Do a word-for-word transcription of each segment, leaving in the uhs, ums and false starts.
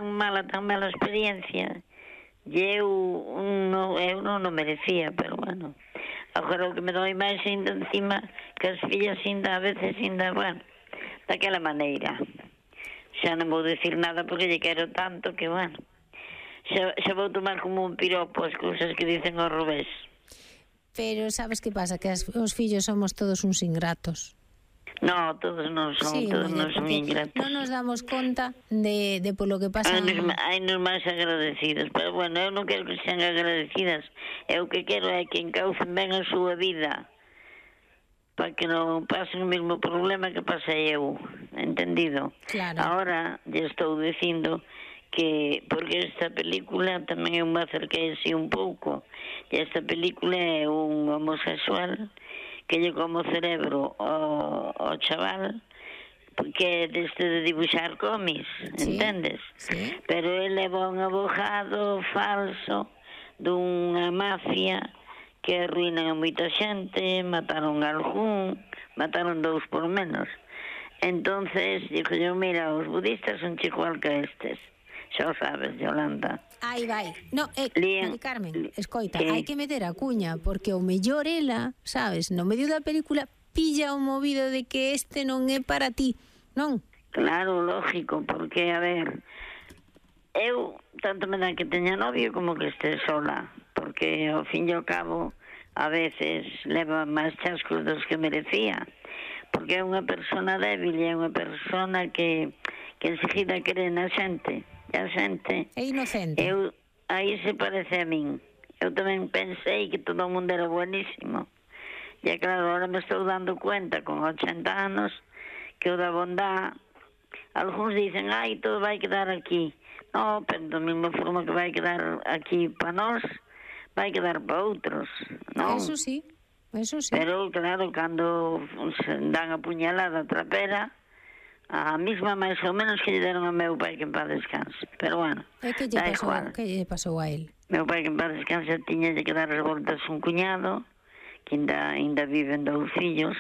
tan mala, tan mala experiencia, e eu non, eu non o merecía, pero bueno, agora o que me doi máis ainda encima que as fillas ainda a veces ainda, bueno, daquela maneira. Xa non vou decir nada porque lle quero tanto que, bueno, xa, xa vou tomar como un piropo as cousas que dicen ao revés. Pero sabes que pasa? Que as, os fillos somos todos uns ingratos. No, todos non son, sí, todos non son ingratos. Non nos damos conta de, de polo que pasa. Hai nos máis agradecidas, pero bueno, eu non quero que sean agradecidas. Eu o que quero é que encaucen ben a súa vida para que non pasen o mesmo problema que pasei eu, entendido? Claro. Ahora, lle estou dicindo que, porque esta película tamén eu me acerquei así un pouco, e esta película é un homosexual que lle como o cerebro ao, ao chaval, que é deste de dibuixar cómics, sí, entendes? Sí. Pero ele é un abogado falso dunha mafia que arruinan a moita xente, mataron a algún, mataron dous por menos. Entonces, digo yo, mira, os budistas son igual que estes. Xa o sabes, Yolanda. Aí vai. No, eh, Mari Carmen, escoita, que hai que meter a cuña, porque o mellor ela, sabes, no medio da película pilla o movido de que este non é para ti, non? Claro, lógico, porque, a ver, eu tanto me dá que teña novio como que este sola, porque ao fin e ao cabo a veces leva máis chascos dos que merecía, porque é unha persona débil e é unha persona que, que enseguida cree na xente. A xente é inocente. Eu, aí se parece a min. Eu tamén pensei que todo o mundo era buenísimo. E claro, agora me estou dando cuenta con ochenta anos que o da bondad, algúns dicen, ai, todo vai quedar aquí. No, pero da mesma forma que vai quedar aquí para nós, vai quedar para outros, non? Eso sí, eso sí. Pero claro, cando se dan a puñalada trapera, a mesma máis ou menos que lle deron a meu pai que en paz descanse. Pero bueno, e que lle pasou, que lle pasou a él? Meu pai que en paz descanse tiña que dar as voltas un cuñado que ainda, ainda viven dous fillos.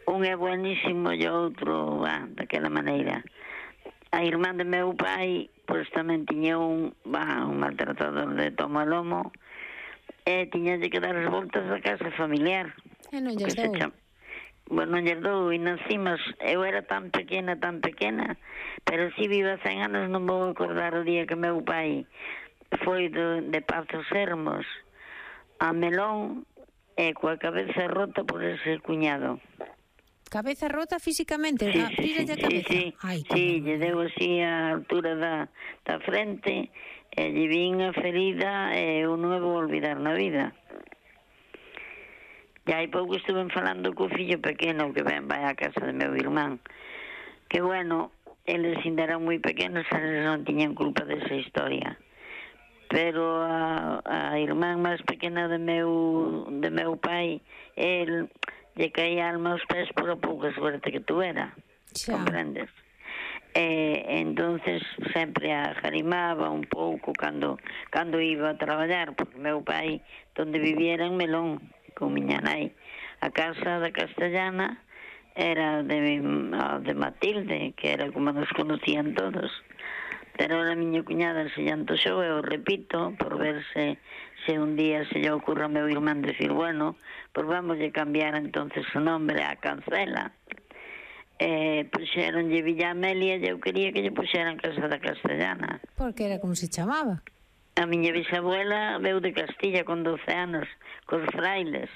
Un é buenísimo e o outro, ah, daquela maneira. A irmán de meu pai, pois tamén tiña un, bah, un maltratador de toma lomo, e tiña que dar as voltas da casa familiar. E non lles dou? Bueno, non lles dou, e encima eu era tan pequena, tan pequena, pero si viva cen anos non vou acordar o día que meu pai foi de, de Pazos Hermos a Melón e coa cabeza rota por ese cuñado. Cabeza rota físicamente? Sí, a sí, sí, a cabeza? sí, Ay, sí, lle deu así a altura da, da frente e lle vin a ferida e eu non me vou olvidar na vida. E hai pouco estuve falando co fillo pequeno que ven, vai á casa de meu irmán, que bueno, eles ainda eran moi pequenos, eles non tiñan culpa desa historia, pero a, a irmán máis pequena de meu de meu pai, el lle caía alma aos pés por a pouca suerte que tuera, comprendes? E entonces sempre a jarimaba un pouco cando cando iba a traballar, porque meu pai donde viviera en Melón con miña nai. A casa da Castellana era de, de Matilde, que era como nos conocían todos. Pero a miña cuñada se lle antoxou, eu repito, por ver se, se un día se lle ocurra ao meu irmán decir, bueno, pues vamos a cambiar entonces o nombre a Cancela. Eh, puxeronlle Villa Amelia e eu quería que lle puxeran Casa da Castellana. Porque era como se chamaba? A miña bisabuela veu de Castilla con doce anos, cos frailes.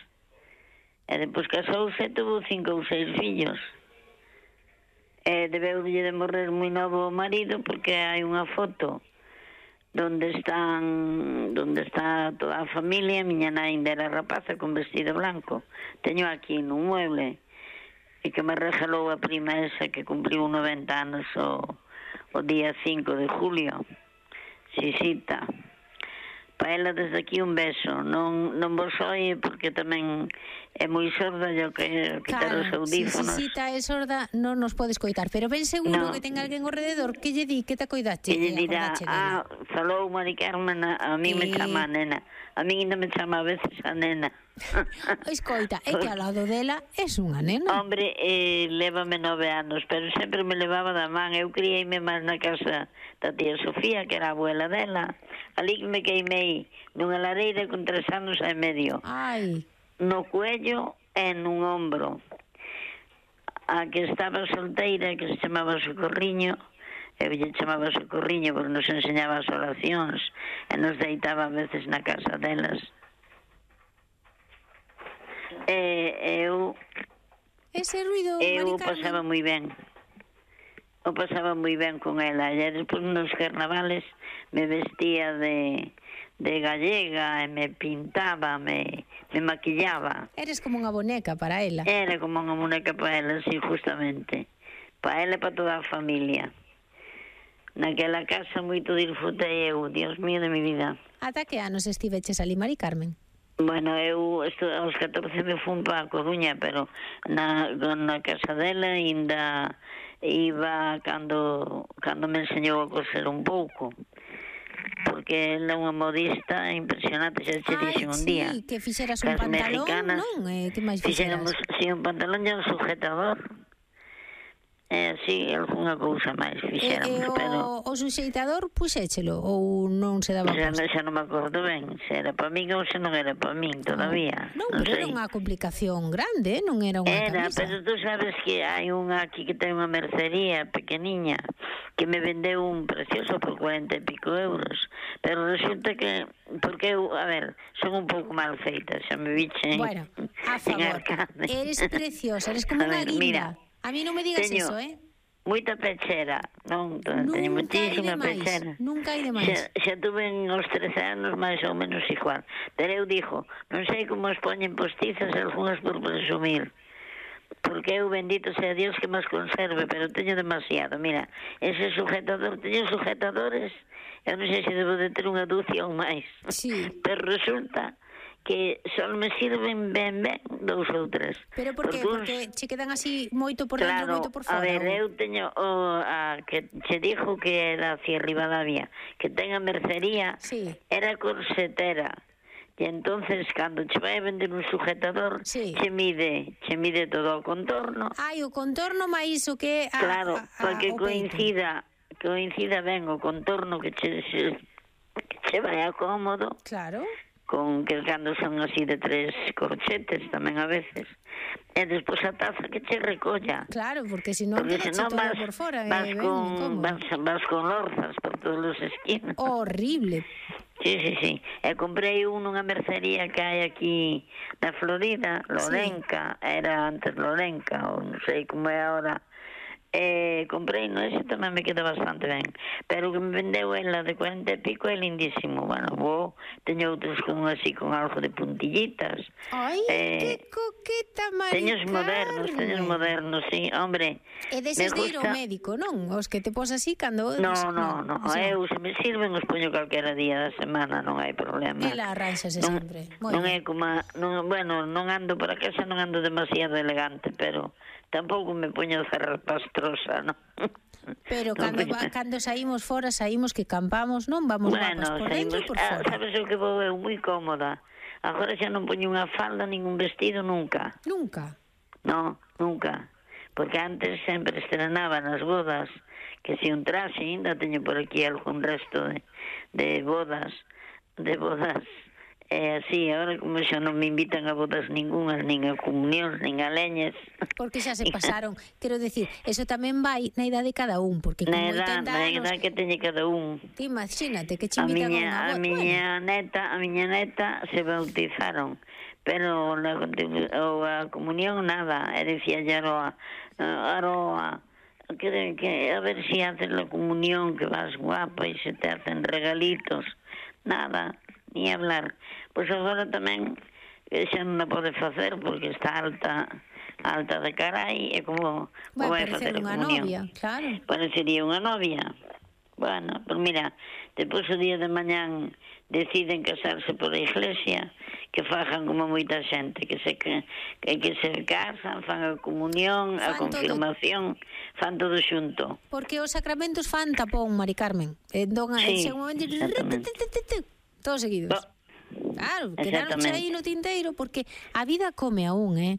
E depois casouse e tuvo cinco ou seis fillos. E debeulle de morrer moi novo o marido porque hai unha foto donde están donde está toda a familia. Miña nai ainda era rapaza con vestido blanco. Teño aquí nun mueble e que me regalou a prima esa que cumpliu noventa anos o, o día cinco de julio. Xisita. Pa ela desde aquí un beso. Non, non vos oie porque tamén é moi sorda, eu que quitar claro, os audífonos. Si Xisita é sorda non nos podes coitar, pero ben seguro no. que ten alguén ao rededor que lle di que te coidache. Que lle dirá, ah, falou Mari Carmen, a, a mí e... me chama a nena. A mí ainda me chama a veces a nena. Escoita, é que ao lado dela es unha nena. Hombre, eh, lévame nove anos, pero sempre me levaba da man. Eu criei-me máis na casa da tía Sofía, que era a abuela dela. Ali que me queimei nunha lareira con tres anos e medio. Ai. No cuello e nun ombro. A que estaba solteira, que se chamaba Socorriño, eu lle chamaba Socorriño porque nos enseñaba as oracións e nos deitaba a veces na casa delas. E eu... Ese ruido, eu Mari Carmen? pasaba moi ben. Eu pasaba moi ben con ela. E despois nos carnavales me vestía de, de gallega e me pintaba, me, me maquillaba. Eres como unha boneca para ela. Era como unha boneca para ela, sí, justamente. Para ela e para toda a familia. Naquela casa moito disfrutei eu, Dios mío de mi vida. Ata que anos estiveches ali, Mari Carmen? Bueno, eu esto, aos catorce me fun para a Coruña, pero na, na casa dela ainda iba cando, cando me enseñou a coser un pouco. Porque ela é unha modista impresionante, xa te dixen un día. Ai, sí, que fixeras un pantalón, non? Eh, que máis fixeras? Fixéramos, sí, un pantalón e un sujetador. Eh, sí, algunha cousa máis fixéramos, e, e o, pero... o suxeitador puxéchelo ou non se daba xa, posto? xa non me acordo ben, se era para min ou se non era para min todavía. Non, non pero sei. era unha complicación grande, non era unha Era, camisa. pero tú sabes que hai unha aquí que ten unha mercería pequeniña que me vendeu un precioso por cuarenta e pico euros, pero resulta que, porque eu, a ver, son un pouco mal feita, xa me viche Bueno, a favor, eres preciosa, eres como unha guinda. A mí non me digas teño eso, eh? Moita pechera, non? Teño moitísima pechera. Nunca hai de máis. Xa, xa tuve os trece anos máis ou menos igual. Pero eu dixo, non sei como os poñen postizas algunhas por presumir. Porque eu, bendito sea Dios, que máis conserve, pero teño demasiado. Mira, ese sujetador, teño sujetadores, eu non sei se debo de ter unha dúcia ou máis. Sí. Pero resulta que só me sirven ben ben dous ou tres. Pero por que? Porque che quedan así moito por dentro, claro, moito por fora. A ver, ou... eu teño o, a, que che dixo que era hacia Rivadavia, que ten a mercería, sí. Era corsetera. E entonces, cando che vai a vender un sujetador, sí. che mide, che mide todo o contorno. Ai, o contorno máis o que... A, claro, a, a, porque coincida, coincida ben o contorno que che, que che vai a cómodo. Claro. Con que cando son así de tres corchetes tamén a veces. E despois a taza que che recolla. Claro, porque se non te todo vas, por fora. Vas, eh, con, vas, vas con lorzas por todos os esquinas. Horrible. Sí, sí, sí. E comprei un nunha mercería que hai aquí na Florida, Lorenca, sí. Era antes Lorenca, ou non sei como é agora. Eh, comprei, no, ese tamén me queda bastante ben, pero que me vendeu ela de cuarenta e pico é lindísimo. Bueno, vou, teño outros con así con algo de puntillitas. Ai, eh, que coqueta, Mari Teños modernos, teños modernos, sí, hombre. E deses de ir ao médico, non? Os que te pos así cando... No, no, no, no. Eu se me sirven os poño calquera día da semana, non hai problema. Ela arranxase sempre. Non é como, non, bueno, non ando para casa, non ando demasiado elegante, pero tampouco me poño zarrapastrosa, non? Pero cando, va, cando saímos fora, saímos que campamos, non? Vamos bueno, guapas por dentro e por fora. Ah, sabes o que vou eu? Moi cómoda. Agora xa non poño unha falda, ningún vestido, nunca. Nunca? No, nunca. Porque antes sempre estrenaba nas bodas, que si un traxe, ainda teño por aquí algún resto de, de bodas, de bodas. É así, agora como xa non me invitan a bodas ningunhas, nin a comunións, nin a leñes. Porque xa se pasaron. Quero decir, eso tamén vai na idade de cada un, porque con oitenta anos... Na anos... idade que teñe cada un. Ti imagínate que che invitan a, miña, a unha boda. A miña bueno. neta, a miña neta se bautizaron, pero la, o a comunión nada, e dicía Aroa, Aroa, que, que a ver si haces la comunión, que vas guapa e se te hacen regalitos. Nada, ni hablar. Pois agora tamén xa non a pode facer porque está alta alta de carai e como vai vai facer unha novia, claro. Parecería unha novia. Bueno, pues mira, depois o día de mañán deciden casarse por a iglesia, que fajan como moita xente, que se que, que, que se casan, fan a comunión, fan a confirmación, todo. Fan todo xunto. Porque os sacramentos fan tapón, Mari Carmen. Entón, sí, en un momento, todos seguidos. Claro, quedaron aí no tinteiro, porque a vida come aún, eh?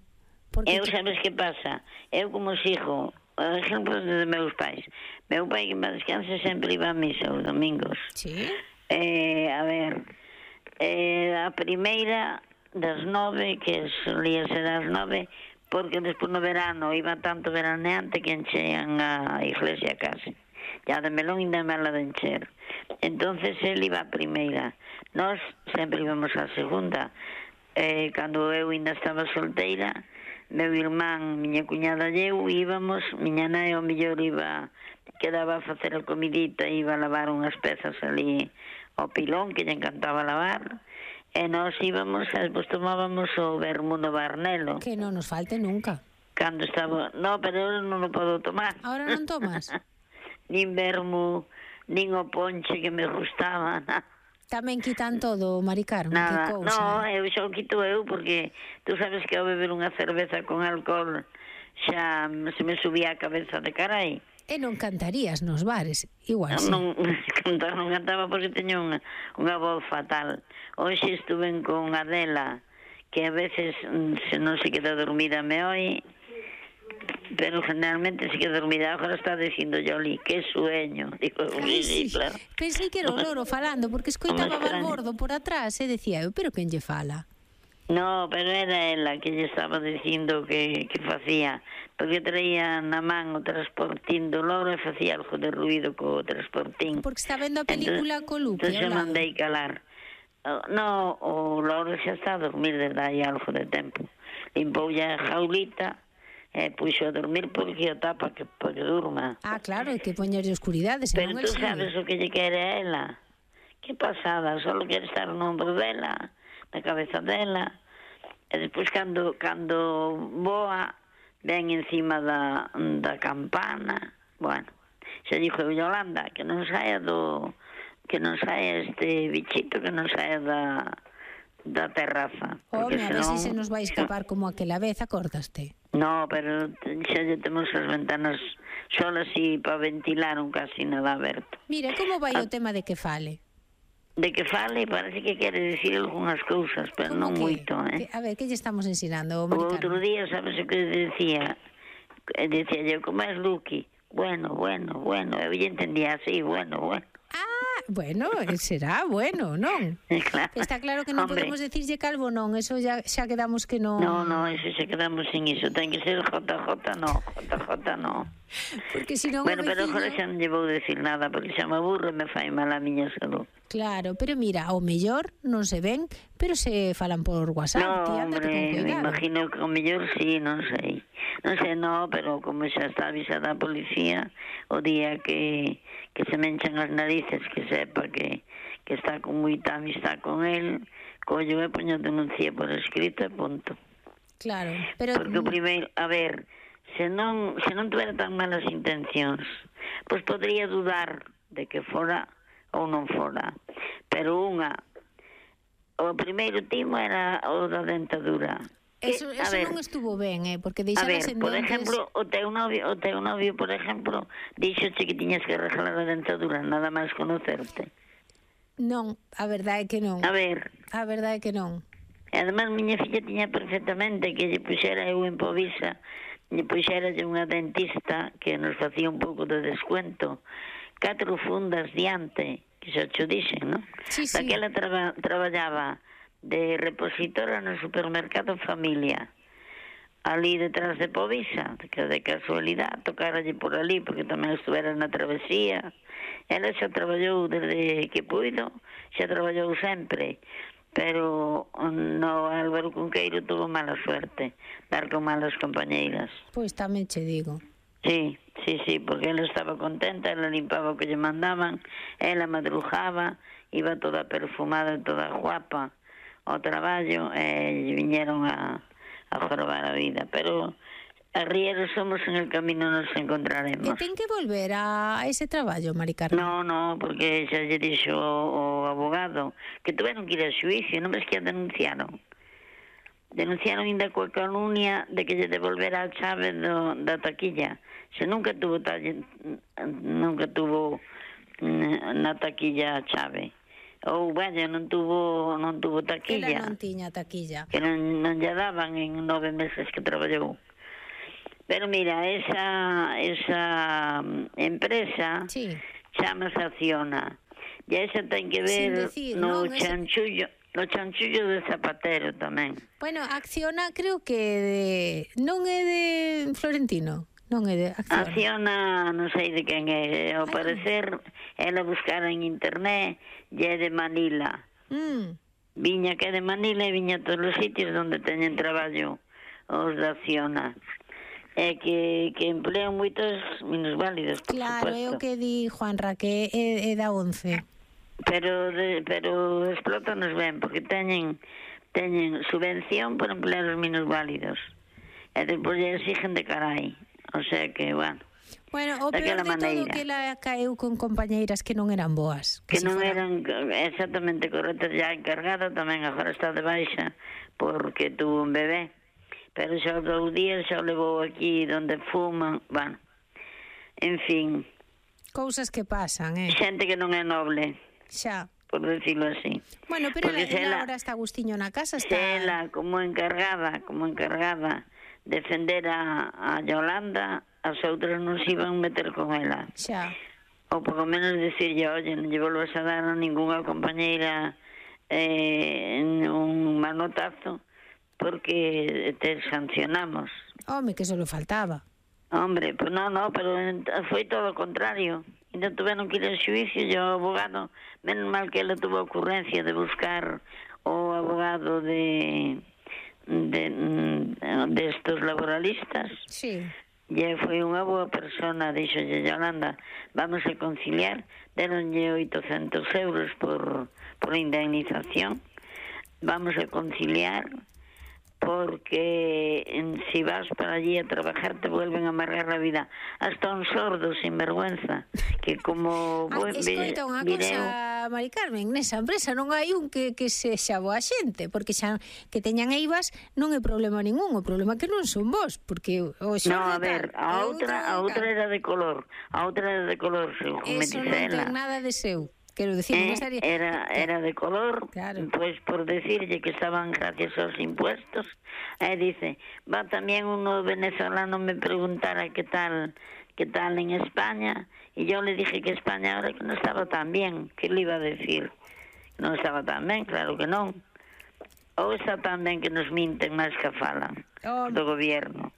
Porque eu, sabes que pasa? Eu como sigo, exemplo de meus pais. Meu pai, que me descanse, sempre iba a misa os domingos. Sí. Eh, a ver, eh, a primeira das nove, que solía ser as nove, porque despois no verano iba tanto veraneante que enchean a iglesia case. Ya de melón ainda mala de encher. Entonces él iba a primeira. Nós sempre íbamos a segunda. Eh, cando eu ainda estaba solteira, meu irmán, miña cuñada e eu íbamos, miña nai ao mellor iba, quedaba a facer a comidita, iba a lavar unhas pezas ali ao pilón, que lle encantaba lavar, e nós íbamos, e despois tomábamos o vermú no Barnelo. Que non nos falte nunca. Cando estaba... No, pero eu non o podo tomar. Ahora non tomas? Nin vermú, nin o ponche que me gustaba, nada. Tamén quitan todo, Mari Carmen, nada, que cousa. No, eu xa o quito eu, porque tú sabes que ao beber unha cerveza con alcohol xa se me subía a cabeza de carai. E non cantarías nos bares, igual sí. Non, cantar non cantaba porque teño unha, unha voz fatal. Hoxe estuve con Adela, que a veces se non se queda dormida me oi, pero generalmente se queda dormida. Agora está dicindo Yoli, que sueño. Digo, Ay, sí, sí. Claro. Pensei que era o loro falando, porque escoitaba Valbordo por atrás e decía eu, pero quen lle fala? No, pero era ela que lle estaba dicindo que, que facía, porque traía na man o transportín do loro e facía algo de ruido co transportín. Porque está vendo a película co Lupe. Entón, entón mandei calar. No, o loro xa está a dormir desde aí algo de tempo. Limpou ya a jaulita e puxo a dormir porque o tapa que, para que durma. Ah, claro, hai que poñerlle oscuridade. Pero tú sabes o que lle quere a ela. Que pasada, só quere estar no ombro dela, na cabeza dela. E despois cando, cando voa, ven encima da, da campana. Bueno, xa dixo Yolanda que non saia do... que non saia este bichito, que non saia da... da terraza. Home, a ver se se nos vai escapar como aquela vez, acordaste? No, pero xa lle temos as ventanas solas e para ventilar un casi nada aberto. Mira, como vai o tema de que fale? De que fale, parece que quere decir algunhas cousas, pero non moito, eh? A ver, que lle estamos ensinando, o outro día, sabes o que decía? Decía yo, como es Luqui? Bueno, bueno, bueno, eu lle entendía así, bueno, bueno. Ah, bueno, será bueno, non? Claro. Está claro que non Hombre. podemos decirlle calvo, non, eso ya xa quedamos que non... No, no, eso xa quedamos sin iso, ten que ser J J, no, J J no. Porque si non bueno, veciño... pero agora xa non lle vou decir nada, porque xa me aburro e me fai mal a miña salud. Claro, pero mira, ao mellor non se ven, pero se falan por WhatsApp. No, tía, hombre, me imagino que ao mellor sí, non sei. Non sei, no, pero como xa está avisada a policía, o día que, que se me enchan as narices, que sepa que, que está con moita amistad con él, collo e poño denuncia por escrito e punto. Claro, pero... Porque o primeiro, a ver, se non, se non tuviera tan malas intencións, pois podría dudar de que fora ou non fora. Pero unha, o primeiro timo era o da dentadura. Eso, eso ver, non estuvo ben, eh, porque deixaba as dentes... A ver, por exemplo, o teu novio, o teu novio, por exemplo, dixoche que tiñas que arreglar a dentadura, nada máis conocerte. Non, a verdade é que non. A ver. A verdade é que non. E además, miña filla tiña perfectamente que lle puxera eu en Povisa, lle puxera unha dentista que nos facía un pouco de descuento, catro fundas diante, que xa cho dixen, non? Sí, sí. Daquela traba, traballaba de repositora no supermercado Familia, ali detrás de Povisa, que de casualidade tocaralle por ali, porque tamén estuvera na travesía. Ela xa traballou desde que puido, xa traballou sempre, pero no Álvaro Cunqueiro tuvo mala suerte, dar con malas compañeiras. Pois tamén che digo. Sí, sí, sí, porque ela estaba contenta, ela limpaba o que lle mandaban, ela madrugaba, iba toda perfumada e toda guapa ao traballo, e viñeron a, a jorobar a vida, pero a Riero somos en el camino, nos encontraremos. Que ten que volver a ese traballo, Mari Carmen? No, no, porque xa lle dixo o, o abogado que tuveron que ir a xuicio, non ves que a denunciaron. Denunciaron ainda coa calumnia de que lle devolvera a chave do, da taquilla. Se nunca tuvo talle, nunca tuvo na taquilla a chave. ou, bueno, non tuvo non tuvo taquilla. Ela non tiña taquilla. Que non, non lle daban en nove meses que traballou. Pero mira, esa, esa empresa sí. chamase Acciona. E esa ten que ver decir, no non, chanchullo, no chanchullo de Zapatero tamén. Bueno, Acciona creo que de, non é de Florentino. Non é de Acciona. Acciona, non sei de quen é. Ao Ay, parecer, ela buscara en internet e é de Manila. Mm. Viña que é de Manila e viña a todos os sitios onde teñen traballo os de Acciona. É que, que emplean moitos minusválidos, por claro, supuesto. É o que di Juanra, que é, é da once. Pero, de, pero explotanos ben, porque teñen, teñen subvención por emplear os minusválidos. E despois lle exigen de carai. O sea que, bueno, bueno, o peor de maneira. Todo que ela caeu con compañeiras que non eran boas. Que, que non fuera... eran exactamente correctas. Ya encargada tamén agora está de baixa porque tuvo un bebé. Pero xa os dous días xa o levou aquí donde fuman. Bueno, en fin. Cousas que pasan, eh? Xente que non é noble. Xa. Por decirlo así. Bueno, pero ela, ela ahora está Agustiño na casa. Está... Ela, como encargada, como encargada... defender a, a Yolanda, as outras non se iban meter con ela. Xa. Ou por lo menos decirlle, oye, non lle volvas a dar a ninguna compañeira eh, un manotazo porque te sancionamos. Home, que só lo faltaba. Hombre, pues no, no, pero foi todo o contrario. Ainda tuveron que ir ao xuicio e o abogado, menos mal que ela tuvo a ocurrencia de buscar o abogado de... de, de estos laboralistas. Sí. E foi unha boa persona, dixo Yolanda, vamos a conciliar, deronlle oitocentos euros por, por indemnización, vamos a conciliar, porque si vas para allí a trabajar te vuelven a amargar la vida. Hasta un sordo sin vergüenza, que como... Ah, escoita unha cosa, Mari Carmen, nesa empresa non hai un que, que sexa boa xente, porque xa que teñan eivas non é problema ningún, o problema é que non son vos, porque o xorde... No, a ver, a outra, a outra era de color, a outra era de color, según me dice ela. Eso non ten nada de seu. Quero decir, eh, non estaría... era, era de color, claro. Pues por decirlle que estaban gracias aos impuestos, e eh, dice, va tamén uno venezolano me preguntara que tal, que tal en España, e yo le dije que España ahora que non estaba tan bien, que le iba a decir, non estaba tan ben, claro que non, ou está tan ben que nos minten máis que falan oh. do gobierno.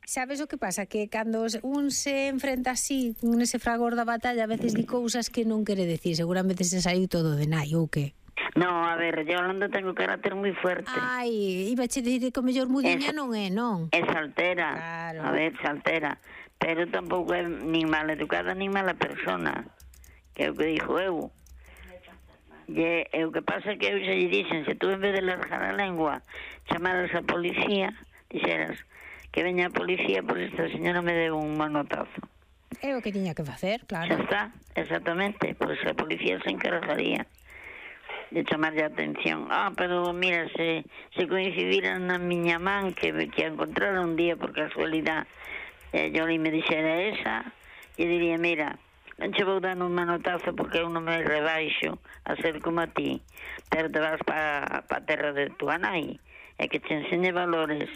Sabes o que pasa? Que cando un se enfrenta así, nese fragor da batalla, a veces di cousas que non quere decir. Seguramente se saiu todo de nai, ou que? No, a ver, Yolanda ten un carácter moi fuerte. Ai, iba che dicir que o mellor mudiña non é, non? É saltera, claro. A ver, saltera. Pero tampouco é nin mal educada, nin mala persona. Que é o que dixo eu. E, e o que pasa é que eu xa lle dixen, se tú en vez de largar a lengua chamaras a policía, dixeras... que veña a policía, por esta señora me deu un manotazo. É o que tiña que facer, claro. Xa está, exactamente, pois a policía se encargaría de chamarlle a atención. Ah, pero mira, se, se coincidiran na miña man que, que a encontraron un día por casualidade, e yo li me dixera esa, e diría, mira, non che vou dar un manotazo porque eu non me rebaixo a ser como a ti, pero te vas para pa a terra de tua nai, e que te enseñe valores.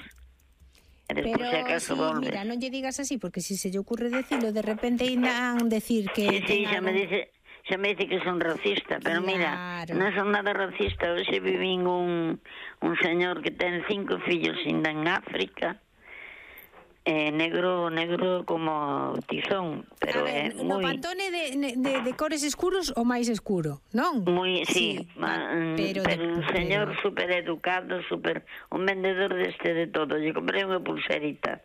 Pero si, mira, non lle digas así, porque si se lle ocurre decirlo, de repente irán decir que... Sí, sí, xa me dice, xa me dice que son racista, pero claro. Mira, non son nada racista. Hoxe vivín un, un señor que ten cinco fillos ainda en África, eh, negro negro como tizón, pero é eh, no moi... pantone de, de, de cores escuros o máis escuro, non? Moi, sí, sí ma, pero, pero un señor pero... super educado, super, un vendedor deste de todo. Lle comprei unha pulserita,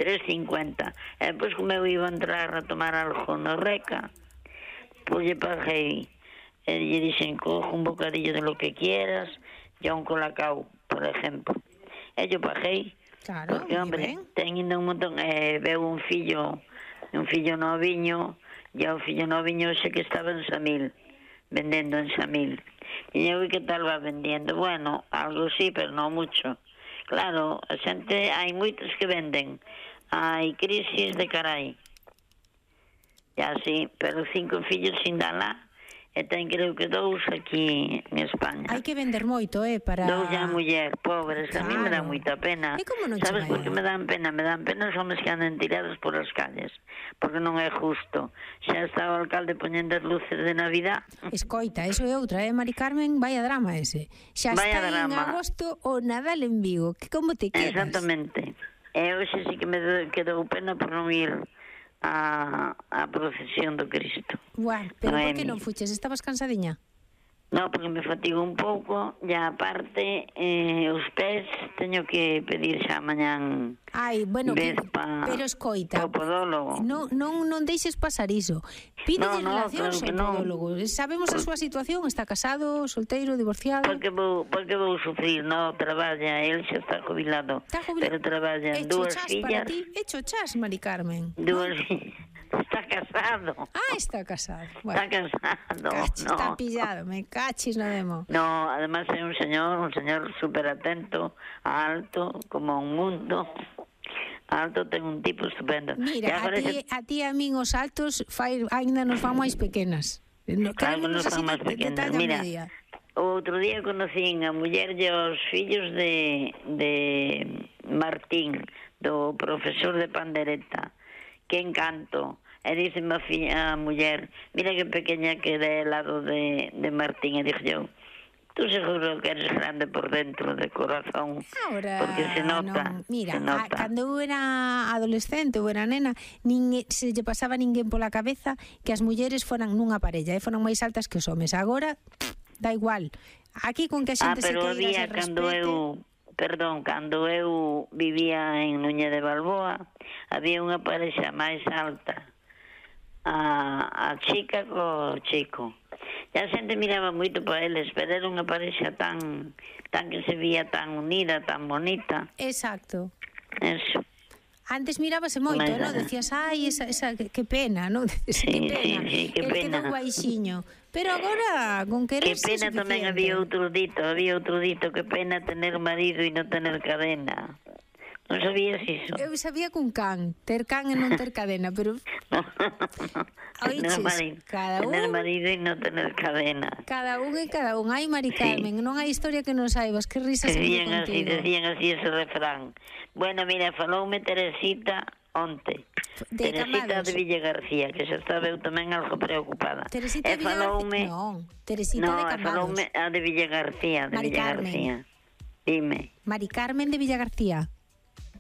tres cincuenta. E depois como eu iba a entrar a tomar algo no Reca, pois lle paguei, e lle dixen, cojo un bocadillo de lo que quieras, e un colacao, por exemplo. E yo paguei. Claro, porque, hombre, ten ainda un montón, eh, veo un fillo, un fillo noviño, e o fillo noviño xe que estaba en Samil, vendendo en Samil. E eu, que tal va vendendo? Bueno, algo sí, pero non mucho. Claro, a xente, hai moitos que venden, hai crisis de carai. E así, pero cinco fillos sin dar lá, e ten creo que dous aquí en España. Hai que vender moito, eh, para... Dous a muller, pobres, claro. A mí me dá moita pena. E como non Sabes por que me dan pena? Me dan pena os homens que andan tirados por as calles, porque non é justo. Xa está o alcalde poñendo as luces de Navidad. Escoita, eso é outra, eh, Mari Carmen, vaya drama ese. Xa vaya está drama. En agosto o Nadal en Vigo, que como te quedas? Exactamente. E hoxe sí que me quedou pena por non ir a, a procesión do Cristo. Bueno, pero por que non fuches? Estabas cansadiña? No, porque me fatigo un pouco, e aparte eh, os pés teño que pedir xa mañán. Ai, bueno, que, pa, pero escoita, o podólogo. Non, non, non deixes pasar iso. Pide no, no, relacións claro ao podólogo. No. Sabemos a súa situación, está casado, solteiro, divorciado. Porque vou, porque vou sufrir, no, traballa, el xa está jubilado. Está jubilado. Pero traballa Hecho dúas chas fillas. Para ti. Hecho chas, Mari Carmen. Dúas fillas. Está casado. Ah, está casado. Bueno, está casado. Cachis, no. Está pillado, me cachis no demo. No, además é un señor, un señor súper atento, alto, como un mundo. Alto, ten un tipo estupendo. Mira, a ti, a ti a min os altos fai, ainda nos van máis pequenas. No, claro, nos van máis pequenas. Mira, media. O outro día conocín a muller e os fillos de, de Martín, do profesor de pandereta. Que encanto. E dice a, filla, a muller, mira que pequeña que de lado de, de Martín. E dixo yo, tú seguro que eres grande por dentro, de corazón. Ahora, porque se nota. Non. Mira, se nota. A, cando eu era adolescente ou era nena, ninguén, se lle pasaba ninguén pola cabeza que as mulleres foran nunha parella, e foran máis altas que os homes. Agora, da igual. Aquí con que a xente ah, se queira, día, se cando respete... eu, perdón, cando eu vivía en Núñez de Balboa, había unha parexa máis alta, a, a chica co chico. E a xente miraba moito para eles, pero era unha parexa tan, tan que se vía tan unida, tan bonita. Exacto. Eso. Antes mirábase moito, Mas, non? Decías, ai, esa, esa, que, que pena, non? Decías, sí, que pena. Sí, sí, que El pena. quedou baixiño. Pero agora, con querer que pena tamén había outro dito, había outro dito, que pena tener marido e non tener cadena. Non sabías iso? Eu sabía cun can, ter can e non ter cadena, pero... Oiches, cada un... Tener marido e non tener cadena. Cada un e cada un. Ai, Mari Carmen, sí. Non hai historia que non saibas, que risas decían así, contigo. decían así ese refrán. Bueno, mira, faloume Teresita onte. De Teresita Cambados. de Villa García, que xa estaba eu tamén algo preocupada. Teresita de Villa García? Non, Teresita no, de Cambados. No, faloume a de Villa García, de Mari Villa Carmen. García. Dime. Mari Carmen de Villa García.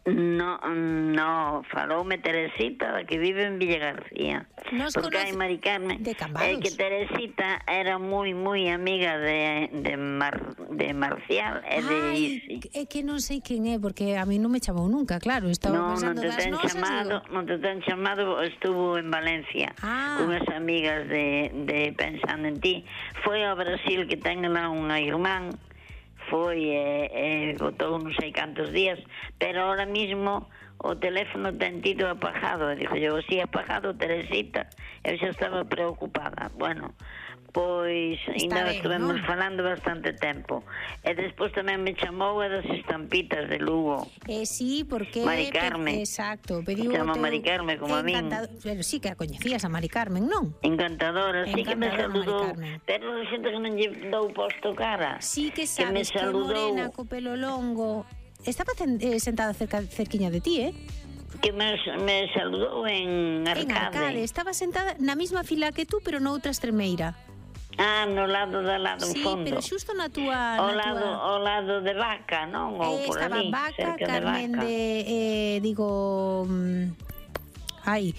No, no, faloume Teresita, da que vive en Villa García. Nos porque hai Mari Carmen. De Cambados. É que Teresita era moi, moi amiga de, de, Mar, de Marcial e de Isi. É que non sei quen é, porque a mí non me chamou nunca, claro. Estaba no, pensando non te das ten nosas, chamado, digo... non te ten chamado, estuvo en Valencia ah. unhas amigas de, de Pensando en Ti. Foi ao Brasil, que ten lá unha irmán, foi e, e botou non sei cantos días, pero ahora mismo o teléfono ten tido apagado. E dixo yo, si apagado, Teresita, eu xa estaba preocupada. Bueno, pois ainda estivemos ¿no? falando bastante tempo. E despois tamén me chamou a das estampitas de Lugo. Eh, sí, porque... Mari Carmen. Exacto. Pediu chama teu... Mari Carmen, como a min. Pero sí que a coñecías a Mari Carmen, non? Encantadora, sí que me saludou. Mari pero xente que non lle dou posto cara. Sí que sabes que, me saludou... que morena, co pelo longo... Estaba eh, sentada cerca, cerquiña de ti, eh? Que me, me saludou en Arcade. En Arcade. Estaba sentada na mesma fila que tú, pero noutra estremeira. Ah, no lado da lado, sí, fondo. Sí, pero xusto na túa... O na lado, tua... o lado de Vaca, non? Ou eh, por estaba ali, Vaca, cerca Carmen de Vaca. de... Eh, digo... Um, ai,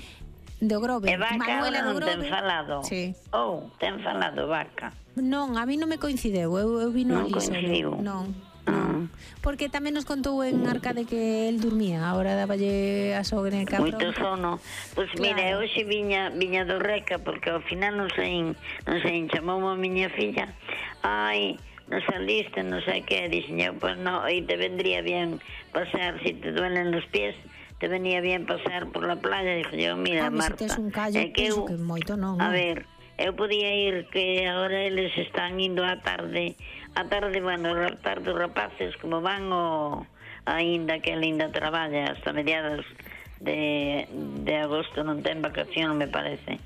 de Grove. E Vaca Manuela non do ten Grove. falado? Sí. Ou, oh, ten falado Vaca? Non, a mí non me coincideu. Eu, eu vino non ali coincidiu? solo. Non. Non. Porque tamén nos contou en Arcade que el dormía, agora daballe a sogra en cabrón. Moito sono. Pois claro. Mira, hoxe viña viña do Reca, porque ao final non sei, non sei, chamou a miña filla. Ai, non saliste, non sei que, dixen eu, pois non, e te vendría bien pasear, si te duelen los pies, te venía bien pasear por la playa. Dixo eu, mira, ah, Marta, se tes un callo, é que eu, que moito non. A ver, eu podía ir, que agora eles están indo á tarde, a tarde, bueno, a tarde os rapaces, como van o aínda que ainda traballa hasta mediados de, de agosto, non ten vacación, me parece.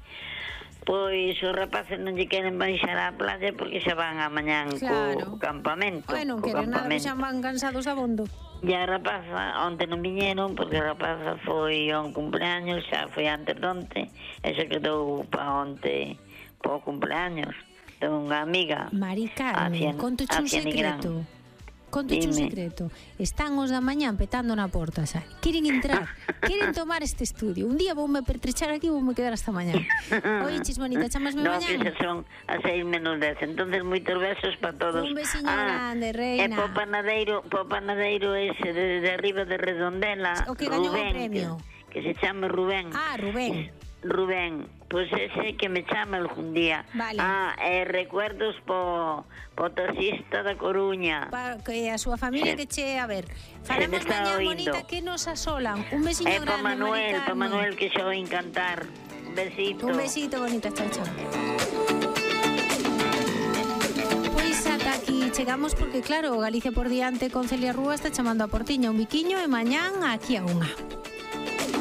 Pois os rapaces non lle queren baixar á playa porque xa van a mañán Claro. co campamento. Ai, non co queren nada, que campamento. xa van cansados abondo. E a rapaza, onte non viñeron porque a rapaza foi a un cumpleaños, xa foi antes de onte, e se quedou pa onte po cumpleaños de unha amiga. Mari Carmen, contoche un secreto. Contoche un secreto. Están os da mañán petando na porta, xa. Queren entrar, queren tomar este estudio. Un día voume pertrechar aquí e voume quedar hasta mañán. Oiches, bonita, chamasme no, mañán? No, que xa son a seis menos dez. Entonces, moitos besos para todos. Un besiño ah, grande, reina. E po panadeiro, po panadeiro ese de, de arriba de Redondela, o que gañou Rubén, o premio. Que, que se chama Rubén. Ah, Rubén. Rubén, pois pues ese que me chama algún día. Vale. Ah, e recuerdos po, po taxista da Coruña. Pa, que a súa familia se, que che, a ver, falamos mañá, bonita, que nos asolan. Un besiño eh, grande, Manuel, Mari pa Manuel, que xa vai encantar. Un besito. Un besito, bonita, chao, chao. Pois ata aquí chegamos porque, claro, Galicia por diante con Celia Rúa está chamando a portiña un biquiño e mañán aquí a unha.